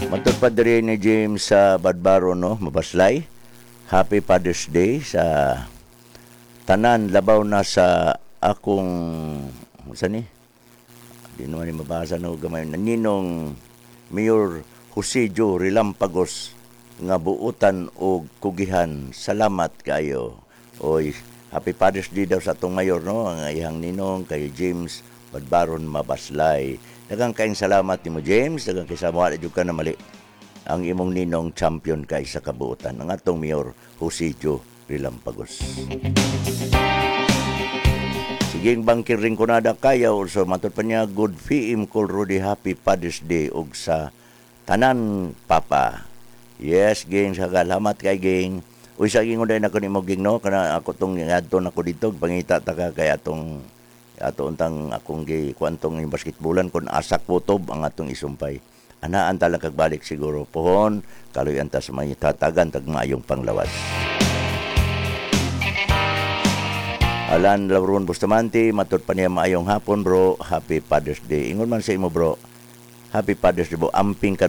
Matod pa diri ni James sa Badbaro, no, Mabaslay. Happy Father's Day sa tanan, labaw na sa akong, sa ni? Di naman ni mabasa, no, gamay. Ninong Mayor Jose Joe Relampagos nga buutan og kugihan. Salamat kayo. Oy, Happy Father's Day daw sa atong mayor, no, ang iyang ninong kay James Badbaron Mabaslay. Daghang kaayong salamat nimo, James, daghang kay sa wala jud ka na mali. Ang imong ninong champion kay sa kabuutan, ang atong Mayor Jose Joe Relampagos. Siging bangkir rin kunada kayaw, so matod pa niya, good PM Col Rudy, Happy Father's Day og sa tanan papa. Yes, Ging, salamat kay Ging. Uy, sa ging unday nako nimo, Ging, no, kana ako tong ngadto nako dito pangita ta ka kay atong ato untang akong gi kuantong yung basketballan kon asak putob ang atong isumpay. Anaan ta lang kagbalik siguro pohon, kaluyan ta sa may tatagan tag maayong panglawas. Alan Lauron Bustamante, matod pa niya, maayong hapon, bro, Happy Father's Day. Ingon man sa imo, bro. Happy Father's Day, bro. Amping ka.